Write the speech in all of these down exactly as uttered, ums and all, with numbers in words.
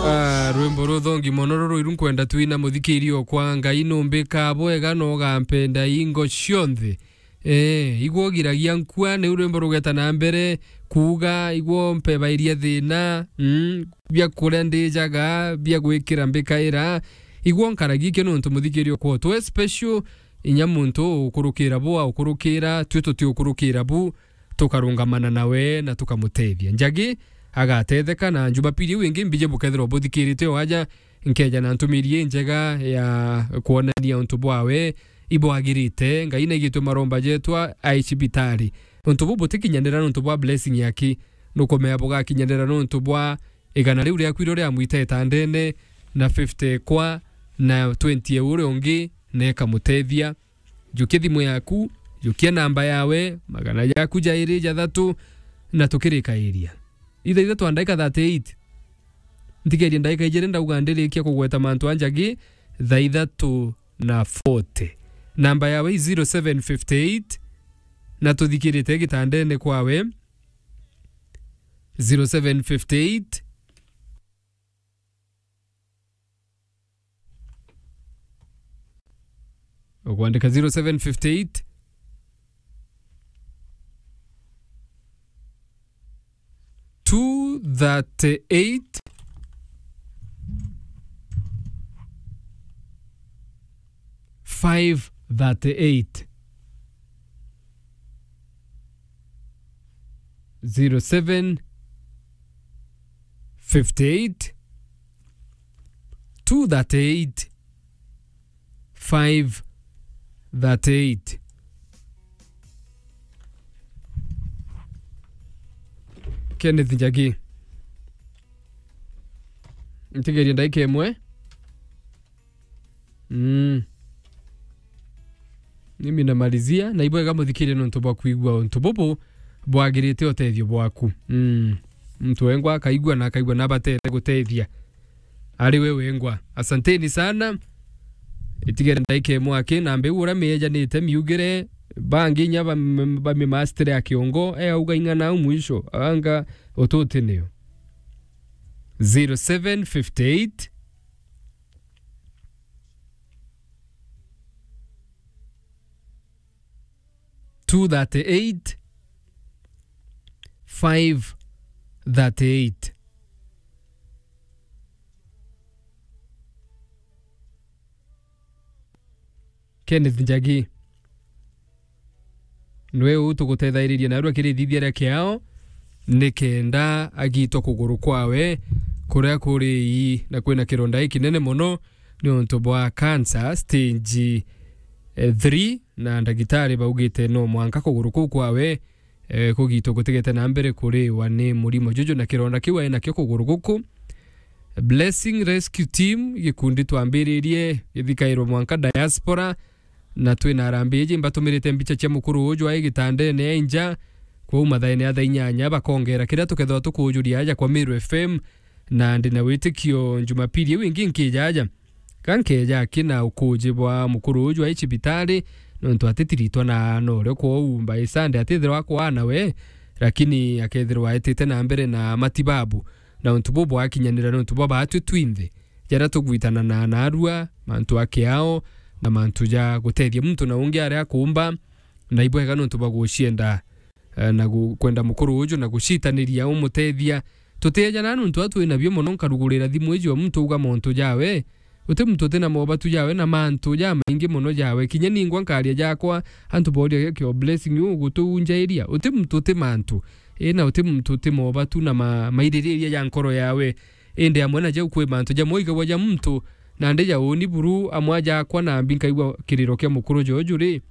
Ah, rwimbo ruthongi mono ruru iru nkwenda twina, muthikiri okwa. Ngai numbika bwega na ugampenda ingo cionthe. Eh, igwo giragia nkua, niu rwimbo rugeta na mbere kuuga, igwo mpebairia thina, mm, bia kuria ndijaga, bia gwikira mbikaira. Igwo nkaragia ikio nontu muthikiri okwa twe special, inya muntu ukurukira bua ukurukira, twi tuti ukurukira bu, tukarungamana nawe na tukamutethia. Njagi agatetheka, na Jumapili iu ingi mbiji bukethirwa buthikirite o aja, nkeja na ntumiri injega ya kwonania untu bwawe ibwagirite. Ngai naigitwe maromba jetwa ai cibitari. Untu bu butikinyanira nontu bwa blessing yaki, nukumea bugakinyanira nontu bwa igana riu riaku irio riamwita itandene, na fifty kwa, na twenty ya uria ungi, na ikamutethia. Jukia thimu yaku, jukia namba yawe, magana jaku jairi jathatu, na tukirikairia. Itha ithatu na ndaika thirty-eight. Ntigerie ndaika ijiri ndauga ndirikia kugweta mantu a Njagi, thaa ithatu na forty. Namba yawe i zero seven fifty eight, na tuthikirite gitandene kwawe. Zero seven fifty eight. Ukwandika zero seven fifty eight, two thirty eight, five thirty eight. Zero seven fifty eight, two thirty eight, five thirty eight. Kenneth Njagi. Ntigerie ndaika imwe. Mm. Mimi namalizia, na ibwega muthikirie nontu bwa kwigua untu bubu bwagirite utethio bwaku. Mm. Muntu wengwa akaigua na akaigua nabatere gutethia. Ari we wengwa. Asanteni sana. Itigere ndaika imwe aki, na mbeu uria miejanite miugire, bangi inya bam-, bamimastere a kiongo, e auga ing'ana au mwisho, anga ututi niyo. Zero seven fifty eight, two thirty eight, five thirty eight. Kenneth Njagi. Nwe uu tugutethairirie narua kirithithia ria kiao, nikenda agitwa kuguru kwawe, kuria kuri ii, na kwina kironda gikinene mono niuntu bwa cancer stage, eh, three, na ndagitari baugite no mwanka kuguru kuu kwawe, eh, kugitwa gutigete na mbere kuriwa ni murimo juju na kironda kiu ai nakio kuguru guku. Blessing Rescue Team, gikundi twambiririe githikairwe mwanka diaspora, na twina arambi iji mbatumirite mbicha cia mukuru uju ai gitandene ai nja, kwou mathaene ya thaa inyanya bakongera kiria tukethirwa tukujuria aja kwa Meru F M, na ndi na witikio Jumapili iu ingi nkija aja. Ka nkeja aki na ukuji bwa mukuru uju ai cibitari, nontu atitiritwa na norio kwou by Sunday atithirwa akwaana we, lakini akethirwa aetite na mbere na matibabu. Na untu bubu bwakinyanira nontu bwa baatwi twinthe, jaria tugwitana na narua, mantu a kiao, na mantu ja gutethia muntu na ungi aria akuumba, na ibwega nontu bwa gucienda, eh, na gu-, kwenda mukuru uju na gucitaniria umutethia. Tutieja na nontu atwi nabio mono, nkarugurira thimu iji o muntu uga montu jawe. Uti muntu uti na mobatu jawe na mantu jamaingi mono jawe. Kinya ningwa nkaria jakwa, antu boria kio Blessing u gutuunjairia. Uti muntu uti mantu. Ina uti muntu uti mobatu na ma-, maiririria ja nkoro yawe. Indi amwe na jau kwi mantu jamwe igagwa ja muntu, nandi ja uni buru amwe jakwa nambi nkaigua kiriro kia mukuru joju ri,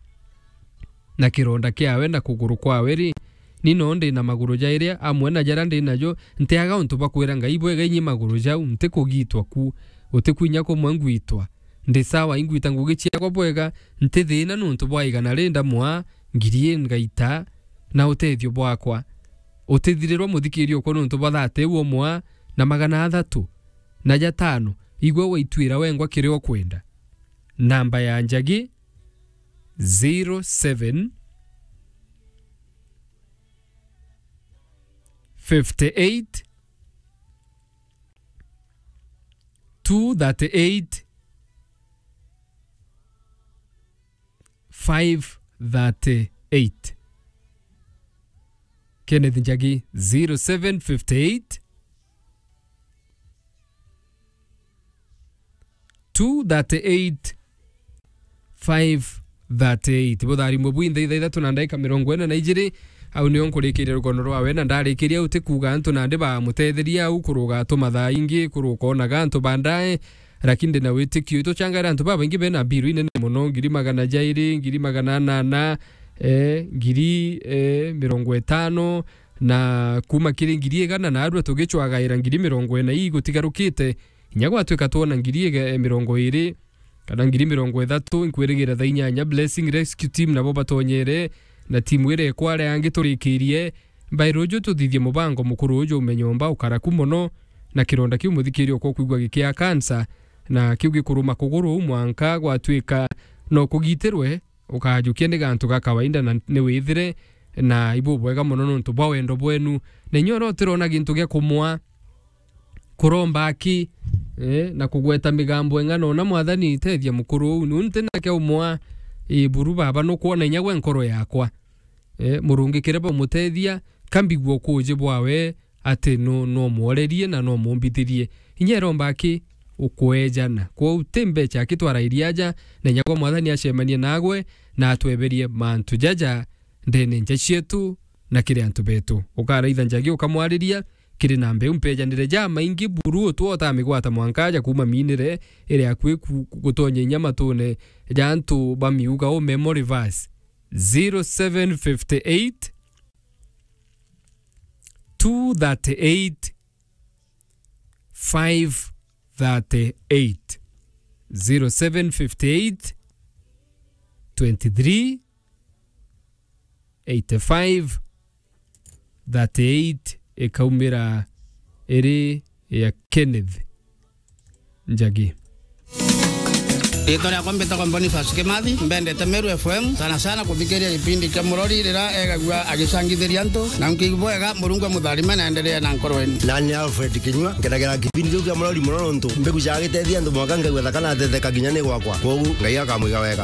na kironda kiawe na kuguru kwawe ri, ni no ndi na maguru jairi amwe na jaria ndi najo, ntiaga untu bwa kwira Ngai bwega inyi maguru jau, ntikugitwa ku, utikwinya kumwe ngwitwa. Ndi sawa, ingwita ngugi ciakwa bwega, nti thina nontu bwa igana ri ndamwa, ngiri i ngaita, na utethio bwakwa. Utithirirwa muthikiria ukwa nontu bwa thate iu umwa na magana athatu na jatano, igwe waitwira wengwa kiria ukwenda. Namba ya Njagi, zero seven, fifty eight, two thirty-eight, five thirty-eight. Kenneth Njagi, zero seven fifty-eight, two thirty-eight, five thirty-eight. Butharimwe bwinthe ithaa ithatu na ndagika mirongo ina na ijiri. Au nio nkurikiria rugono rwawe, na ndarikiria uti kuuga antu nandi bamutetheria au kuruga tumathaa ingi, kuruga onaga antu bandae, lakini ndina witikio ituchangaira antu babaingi bena biru inene mono, ngiri magana jairi, ngiri magana anana, eh, ngiri, eh, mirongo itano, na kuma kiri ngiri igana, na arua tugicwagaira ngiri mirongo ina ii gutigarukite, inya gwatwika twona ngiri iga-, mirongo iri kana ngiri mirongo ithatu, nkwirigira thaa inyanya Blessing Rescue Team nabo batonyere, na timu iria ikware angi turikirie. Mbaire uju tuthithie mubango mukuru uju ume nyomba ukaraku mono, na kironda kiu muthikiri okwa kwigua gikia cancer, na kiu gikuruma kuguru mwanka gwatwika no kugitirwe, ukajukia ni gantu ga kawaida na ni withire na ibubwega mono nontu bwa wendo bwenu. Na inya uria utirona gintu gia kumwa, kuromba aki, eh, na kugweta migambo enga, nona Mwathani tethia mukuru uu. Niu nti nake umwa, eh, buru baba nukwona inya gwe nkoro yakwa. Eh, murungikire bamutethia, kambigua ukuuji bwawe, ati nu-, nu umworerie na nu umumbithirie. Inya iromba aki ukweejana. Kwou ti mbecha aki twarairie aja, na inya gwa Mwathani acemanie nagwe, na atweberie mantu jaja ndene nja cietu na kiri antu betu. Ukaraitha Njagi ukamwariria, kiri na mbeu mpeejanire jamaingi buru utwo utamigwata mwanka aja kuuma miinire iri akui ku-, ku-, gutonya inya matune ja antu ba miuga u memory verse. Zero seven fifty-eight, two thirty-eight, five thirty-eight. Zero seven fifty-eight, twenty-three, eighty-five, thirty-eight ikaumira iri ya Kenneth Njagi. Riitwa riakwa mbitagwa Boniface Kimathi, mbendete Meru F M, sana sana kuthikiria gipindi kia Murori riria egagua agicangithiria antu, na nkiigua bwega, Murungu amutharime na endelee na nkoro yenu. Nani Alfred Kinyua, nkenagira kipindi kiu kia Murori mono nontu mbegu cia gitethia antu mwanka ngaigua thaka na ateteka kinya ni gwakwa. Kwogu Ngai akamwiga wega.